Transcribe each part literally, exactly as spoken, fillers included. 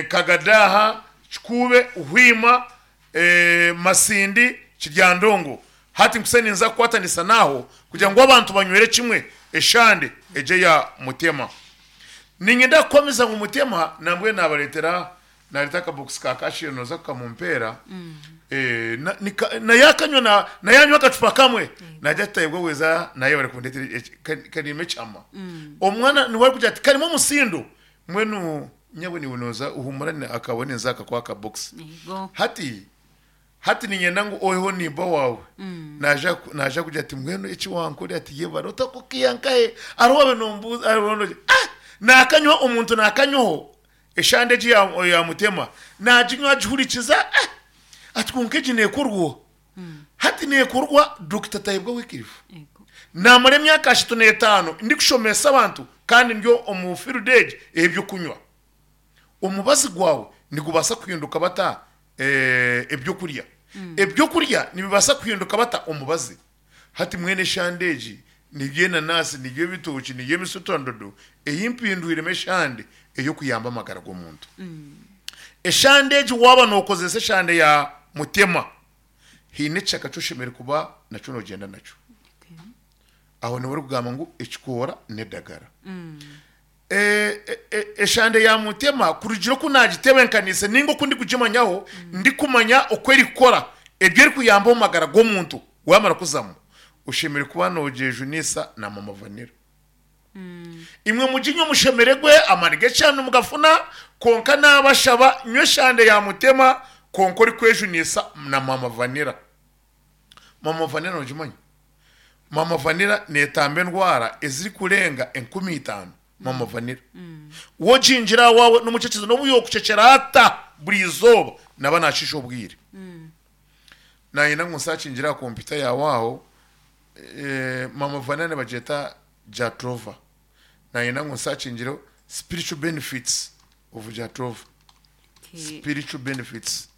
Kagadaha, Kikuube, Hwima, eh, Masindi, Kiryandongo. Hati nkusa ninza kukwatanisa naho kugira ngu abantu banywere kimwe eshande eje ya Mutema. Ninyenda kukomeza ngu Mutema nambwe nabaretera nareta akabokisi ka kashire noza kukamumpera. Eh, na- nika- naye akanywa na- naye anywa akacupa kamwe, najya tutayebwa weza naye bari kundetera eki- ka- karimo ekyama. Omwana niwe ari kugira ati karimo omusindo mbwenu nyabwe niwe noza uhumurane akabone nza akakuha akabokisi. Yego. Hati hati ninyenda ngu oiho nimba wawe naja naja kugira ati mbwenu eki wankore, ati ye barota kukiyankahe ariho wabe nombuza ariho no ah nakanywa omuntu nakanywaho eshande egi ya, ya Mutema, naginywa agihurikiza, ah ati konka egi nekorwa. Hati nekorwa Doctor Tayebwa Wikirifu. Yego. Namara emyaka ashatu n'etaano ndikushomesa abantu kandi ndyo omu field egi ebyokunywa. Omubazi gwawe nigubaasa kuhinduka bata eh, ebyokurya, ebyokurya nibibaasa kuhinduka bata omubazi. Hati mwene eshande egi nibyo enanasi, nibyo ebitoki, nibyo emisutandodo eyimpindwiremu eshande ey'okuyamba amagara g'omuntu. Eshande egi waaba nokozesa eshande ya Mutema, hiine ekishaka kyoshemereire kuba nakyo nogyenda nakyo. Okay. Aho niwe orikugamba ngu ekikoora n'edagara. Eh, eh, eh, eshande ya Mutema, kurugira oku nagitebenkanise ninga oku ndikugimanyaho, ndikumanya oku erikukora ebyo erikuyamba omu magara g'omuntu, wamara kuzamu oshemereire kuba nogyejunisa na Mama Vanira. Imwe muginywe mushemeregwe amani g'ekyano mugafuna, konka nabashaba nywe eshande ya Mutema konka orikwejunisa na Mama Vanira. Mama Vanira nogimanya? Mama Vanira netamba endwara ezirikurenga enkumi itaano. Mama Vanira wogingira wawe n'omucekezo n'obu yokucecera ata buri izooba naba nashisha obwire. Nayenda ngu nsakingira aha kompyuta yawe aho, eh, Mama Vanira nibagyeta Jatropha. Nayenda ngu nsakingire spiritual benefits of Jatropha. Okay. Spiritual benefits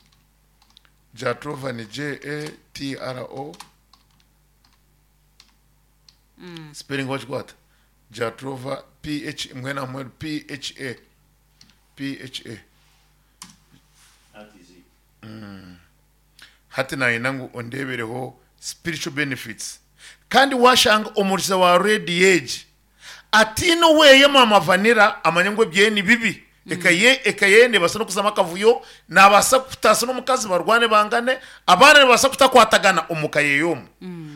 Jatropha ni J A T R O, spelling wakikwata Jatropha P H mwena mwenu P H A P H A. That is it. Hati nayenda ngu ondebereho spiritual benefits. Kandi washanga omuriza wa redi age atiine weye Mama Vanira, amanye ngu ebye ni bibi, ekaye ekaye nebasa nokuzama akavuyo, nabasa kutasa n'omukazi barwane bangane, abaana nibabasa kutakwatagana omuka yeyomu.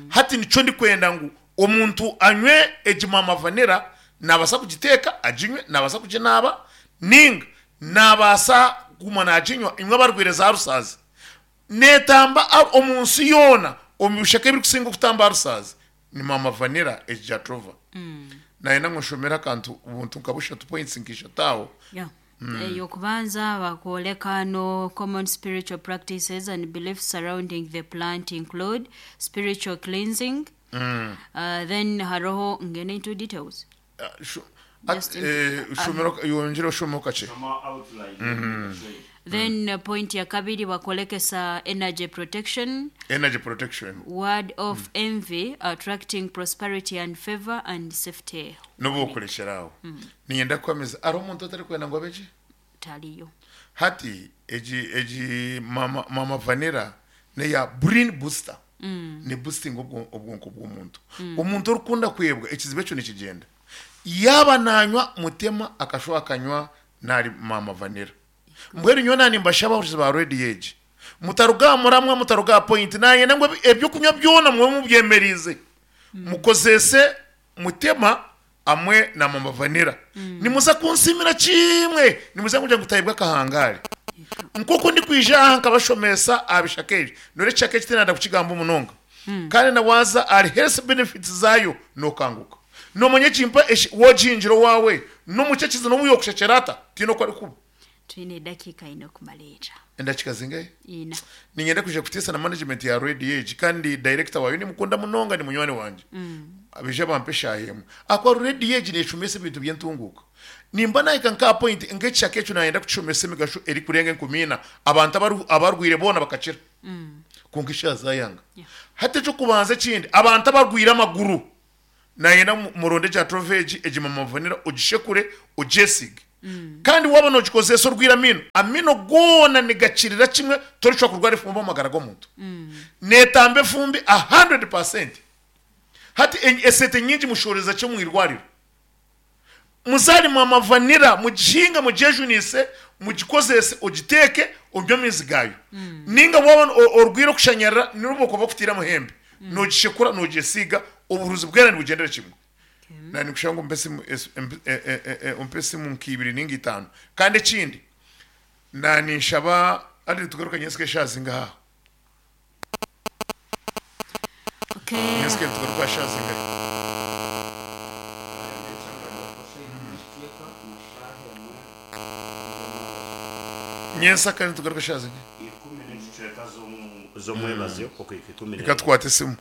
Hati nico ndikwenda ngu omuntu anywe egi Mama Vanira, nabasa kugiteeka aginywe, nabasa kuginaaba ninga nabasa kuguma naginywa. Imwe abarwire za rusazi netamba a- omu nsi yoona omu bishaka ebirikusinga okutamba rusazi ni Mama Vanira egi Jatropha. Nayenda ngu nshomere akantu ubuntu nka bushatu, points nkishatu aho. Yeah. Eyokubanza bakwoleka no common spiritual practices and beliefs surrounding the plant include spiritual cleansing. Uh, then haroho ngene into details. Ah, shu- Just at- eh, shomero yongere oshomeo kakye. Some outline. Mm. Then uh, point ya kabiri bakolekesa energy protection, Energy protection. Ward off envy, attracting prosperity and favor and safety. N'obu okurekera aho ninyenda kukwamiza ari omuntu otari kwenda ngu abeki Taliyo. Hati egi egi mama, mama Vanira neya brain booster, ni boosting obwo- obwonko bw'omuntu. Omuntu orikunda kwebwa ekizibu ekyo nikigenda yaba nanywa Mutema akashuba akanywa nari Mama Vanira. Mbwenu nyowe nani mbashaba abahurikiza ba redi egi, mutaruga muramwa mutaruga point nayenda ngu ebi- ebyokunywa byona mube mubyemerize mukozese Mutema amwe na Mama Vanira, nimuza kunsimira kimwe, nimuza kugira ngu tayibwa akahangare nk'uko ndi kwija aha nkabashomesa aha bishaka ebi. Nore ekishaka eki tinanda kukigamba omunonga, kandi nawaza ari health benefits zayo nokanguka nomanya ekimpa eshi- wogingiro wawe nomucekizi n'obu yokushekera ata tiine oku arikuba. Twine eddakiika ina okumaleeta. Endakika zingahe? Ina. Ningenda kuja kutiisa na management ya radio egi, kandi director wayo nimukunda munonga, ni munywani wanje, abije bampe eshaaha akwa radio egi neshomesa ebintu by'entunguka. Nimba nahika nka point nk'ekishaka ekyo nayenda kukishomesa emigasho erikurenga enkumi ina, abantu abaru- abarwire boona bakakira, konka eshaaha zayanga. Yeah. Hati ekyokubanza ekindi, abantu abarwire amaguru nayenda mu- muronde Jatropha egi Mama Vanira ogishekure ogyesige. Kandi waba nogikozesa orwire amino, amino goona nigakirira kimwe, torishobora kurwara efumbi omu magara g'omuntu. Neetamba efumbi a hundred percent. Hati en- esente nyingi mushoreza kyo mwirwariro. Muzari mama vanilla, mugihinga, mugyejunise, mugikozese, ogiteeke onywe amaizi gayo. Ninga waba o- orwire okushanyarara, nirwo bakutira amuhembe, nogishekura, nogyesiiga, obuhuruzi bwera nibugendera kimwe. Na nikushanga umpe esimu es- emp- e- e- e- e- umpe esimu nk'ibiri ninga itaano. Kandi ekindi, na ninshaba ari tugaruka nyensike eshazi ngaha. Okay. Nyensike tugaruka eshazi ngaha. Nyensa kandi tugaruka eshazi ngaha. Ikumi n'ekicweka z'omu- z'omwebazo okuhika ikumi Reka tukwate esimu.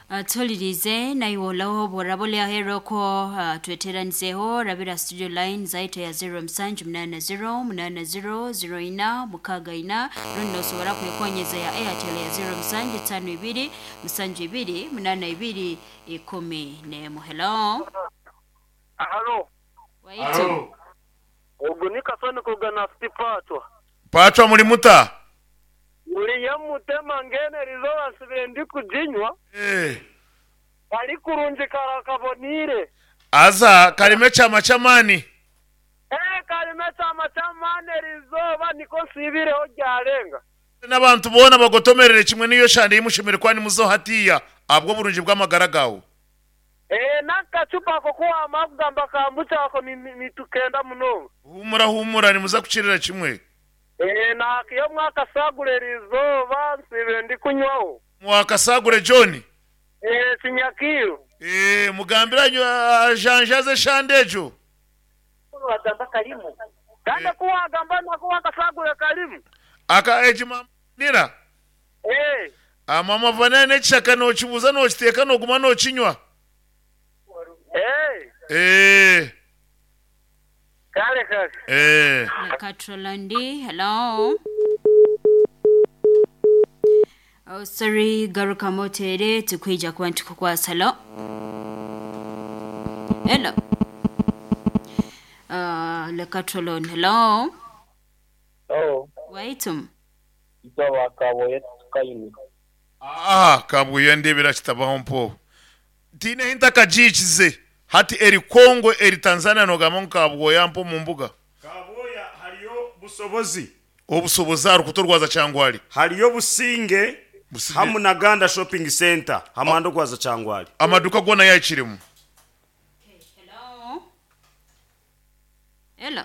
Uh, tulirize naiwolaho borabole aheroko, uh, tweteranizeho rabira studio line zaito ya zero musanju munana zero munana zero zero ina mukaga ina, rundi nosobora kwekonyeza ya Airtel ya zero musanju tano ibiri musanju ibiri munana ibiri ikumi nemu. Hello. Halo, Waitu. ubwo ni kasoni kugana sipatwa. Pachwa, muri muta? Uriye mutema ngene rizoba nsubire ndi kujinywa. Eh. Kari kurungi karakabonire. Aza karime chama chamani. Eh, karime chama chamane rizoba niko nsibireho ryarenga. N'abantu bona bagotomerere kimwe n'iyo shande yimushimire kwani muzo hatiya abwo burungi bw'amagara gawe. Eh, n'akacupa ko kuwa amagamba kambuca ako ni- ni- nitukenda munonga. Humura, humura, nimuza kukirira kimwe. Eh, nakiyo mwakasagure rizoba nsibire ndi kunywaho. Mwakasagure John. Eh, sinyakiyo. Eh, mugambira janjaze shande ejo. Wagamba karimu. Kandi kuwagamba nako wakasagure karimu. Aka ejima nira. Eh. Amama vanene n'ekishaka nokibuza, nokiteeka, noguma nokinywa. Eh. Eh. Kale kale. Eh. Katrolandi, hello. Oh, sorry, garuka motere tukwija kuba ntukukwasa. Hello. Hello. Uh, Lekatrolon, hello. Oh, Waitum. ito wakaboye tukayini. Ah, kabuye ndebera kitabaho mpo. Tine hinta kajikize. Hati eri Kongo, eri Tanzania, nogamba nkabwoya mpo mu mbuga. Kaboya hariyo busobozi. Obusobozi ari kutorwaza cyangwa ari. Hariyo Businge. Businge. Hamu na Ganda Shopping Center hamando kwaza Changwali. Amaduka gona yakirimu. Hello. Hello.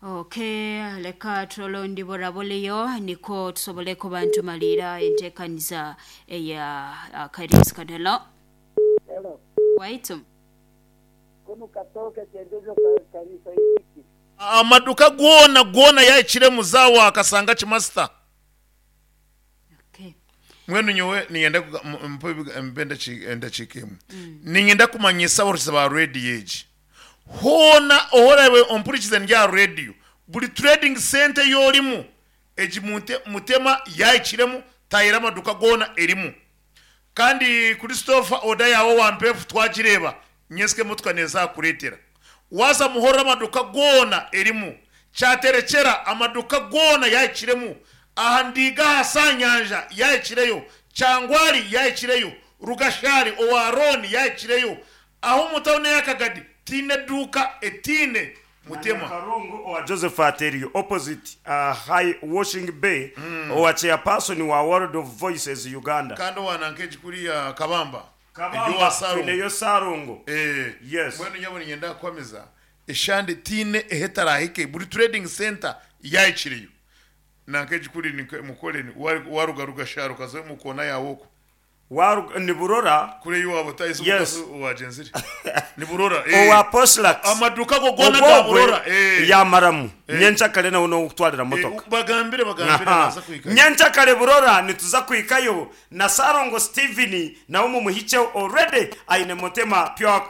Okay, leka trolondi boraboleyo niko tusobole kuba ntumalira enteekaniza eya uh, Kairos kan. Hello. Hello. Waitum. Kuno katoke chendezo kanisa hiki. Amaduka gona gona yakiremu zawa akasanga kimasita. Okay. Mwenu nyowe niyenda kuga- m- mpe ebiga- mpe endachi- endakiika ninyenda kumanyisa abarukiza ba rediyo egi hoona ohorabe ompurikize ndya rediyo, buri trading center yorimu egi mute- mutema yayikiremu, tayira amaduka gona erimu. Kandi Christopher, oda yawe wampefu twagireba, nyesike motoka nezakuretera waza muhorora, amaduka gona erimu. Cyaterekera amaduka gona yayikiremu, aha ndiga hasanyanja yayikireyo, Cyangwari yayikireyo, Rugashari owaroni yayikireyo, aho mutawune yakagadi tine duka etine mutema. Karungu owa Joseph Ateriyo opposite uh, High Washing Bay mm. owa chairperson wa World of Voices Uganda. Kandi wanankeji kuriya Kabamba. Kabamba, Iryo wa Sarungu. tuineyo Sarungu. Eh, Yes. mbwenu nyabona ngenda kwamiza eshande tine ehetarahike, buri trading center yayikireyo. Nankeji kuri ni mukore ni waruga rugasharo kazo mukona yawoko. Waru- ni Burora. Kure yuwabo tayizo. Yes. Wagenzire ni Burora, eh. Owa Poslax. Amaduka go gona ga Ogwogwe Burora, eh. yamaramu nyenchakare nawe nokutwarira Eh, motoka. bagambire bagambire Aha. naza kwika. Nyenchakare Burora nituza kwikayo na Sarongo Steven nawe mumuhicheho, already aine mutema pure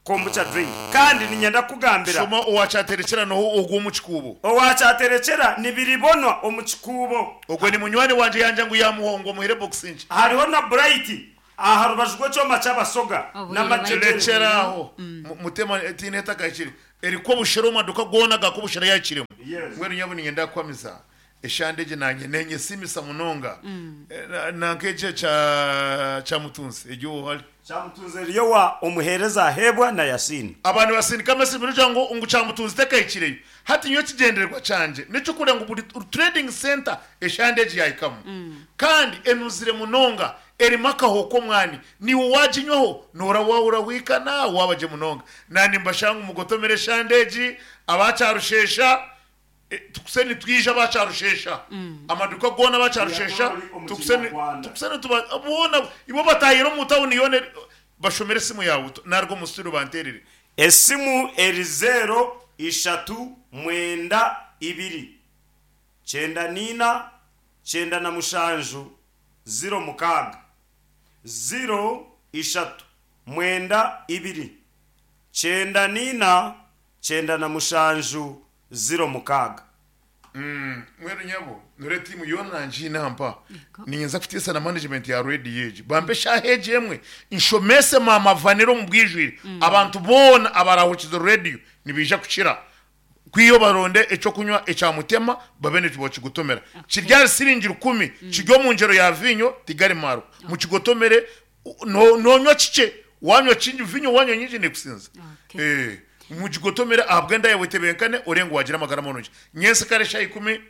kombucha drink. Kandi ninyenda kugambira Shoma owacyaterekera noho ogwo mu kikubo. Owakyaterekera nibiribonwa omu kikuubo. Ogwo ni munywani wanje yanja ngu yamuhongo muhere boxing. Hariho na Bright Aha rubaju rw'ekyoma ky'abasoga Obwire n'amajegere. Rekyeraho mutema tiine etakahikire eriko obushera omu maduka goona gakobushera yakiremu. Yes. Mbwenu nyabo ninyenda kukwamiza eshande egi nanye nenyesimisa munonga. Eh, na- nanka ekyo kya kya mutunzi egyo ohari Kyamutunze eriyo wa omuheereza ahebwa na Yasini. Abantu basindika amasimu kugira ngo ngu kyamutunzi tekahikireyo. Hati nyowe ekigendererwa kyangye nekyokureba ngu buri trading center eshande egi yahikamu kandi enuzire munonga, erimu akaho k'omwani, niwe waginywaho noora wahura wikana wabagye munonga. Nani mbashanga mugotomere eshande egi abakyarushesha, eh, tukuse nitwija abakyarushesha amaduka goona abakyarushesha. Yatwara omu Tukuse ni- Kinyarwanda. tukuse nituba boona ibo batahire omu tawuni yoona bashomere esimu yawe narwo omu studio banterere. Esimu eri zero ishatu mwenda ibiri kyenda nina kyenda na mushanju ziro mukaaga, ziro ishatu mwenda ibiri kyenda nina kyenda na mushanju ziro mukaaga. Mwenu nyabo nore timu yona nanjina mpa ninyenza kutiisa na management ya radio egi bampe shaha egi emwe nshomese mama vaniro mu bwijwire. Abantu boona abarahukiza radio nibija kukira kwiyo baronde ekyo kunywa ekya mutema babe nibakigutomera kiryari siringi rukumi kiryo mu ngero ya vinyo tigari maro mukigotomere u- no- nonywa kike wanywa kingi vinyo wanywa nyingi nekusinza. Okay. Eh, mukigotomere ahabwenda yawe tebenkane orengo wagira amagara marungi. Nyensi kare shaha ikumi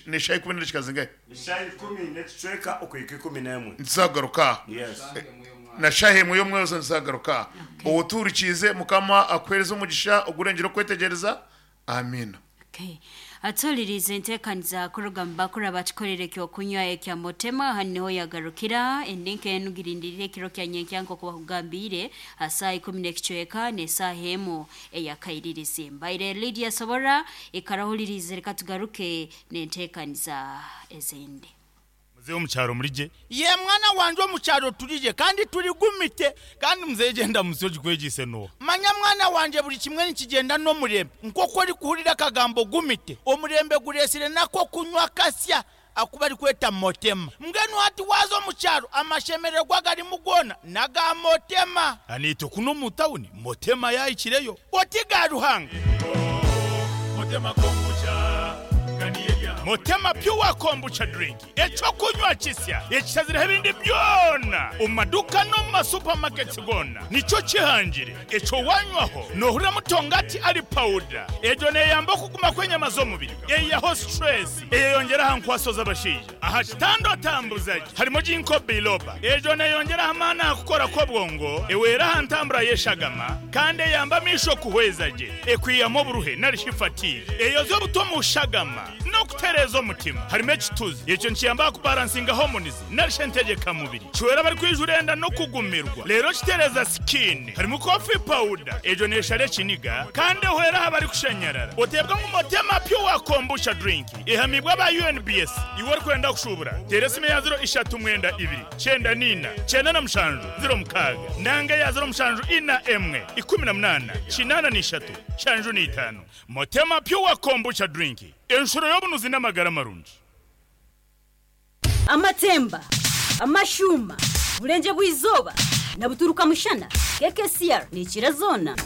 ne shaha ikumi n'ekikazi Shaha ikumi n'ekicweka okuhika ikumi n'emwe. Nzagaruka. Yes. Na shaha emwe y'omwezi nzagaruka. Owoturikize mukama akwereza omugisha ogurengera okwetegereza. Amina. Okay. Atulirize enteekaniza kuruga mu bakuru abakikorera ekyokunywa ekya mutema. Hano niho yagarukira endinka enugirindirire ekiro kya nyenkya nk'oku bakugambire asaa ikumi n'ekicweka n'esaaha emu eyakairirizi. Mbaire Lydia Sobora ikarahulirize, reka tugaruke n'enteekaniza ezindi. Muzehe omukyaro murije? Ye mwana wanje, omukyaro turije kandi turigumite. Kandi muzehe genda musi ogikwegise noha? Manya mwana wanje, buri kimwe nikigenda n'omurembe. Nk'oku orikuhurira akagambo gumite, omurembe guresire nako kunywa kasya akuba arikweta motema. Mbwenu hati waza omukyaro amashemererwa garimu goona naga motema. Aniitwe kuno omu tawuni motema yahikireyo. Oti ga Ruhanga. Motema Pure Kombucha drink, ekyokunywa kisya ekishazireho ebindi byona omu maduka no mu masupamaketi gona nikyo kihangire. Ekyo wanywaho nohurira mutongati ari pawuda egyo neyamba okuguma kw'enyama z'omubiri, eyiyaho stress, eyeyongera aha nkwaso z'abashaija aha kitanda otambuzagi. Harimo ginkgo biloba, egyo neyongera amaani aha kukora kw'obwongo, ewera aha ntambura y'eshagama kandi eyamba amisho kuhweza gye, ekwiyamu oburuhe narishi fatigue, eyoza obuto mu shagama n'okutereeza omutima. Harimo ekituzi, ekyo nikiyamba kubalansinga hormones narishi entegekamubiri, kiwera abari enda no kugumirwa rero kitereza skin. Harimo coffee powder, egyo neshara ekiniga kandi ehwera aha bari kushanyarara. Oteebwa ngu Motema Pure Kombucha drink ehamibwa aba U N B S. Iwe orikwenda kushubura tera esimu ya ziro ishatu mwenda ibiri kyenda nina kyenda na mushanju ziro mukaaga nanga ya ziro mushanju ina emwe ikumi na munana kinana n'ishatu shanju n'itaano. Motema Pure Kombucha drink, enshuro y'obunuzi n'amagara marungi. Amatemba, amashuma, burenje bw'izoba na buturuka mushana, K K C R nikira zona.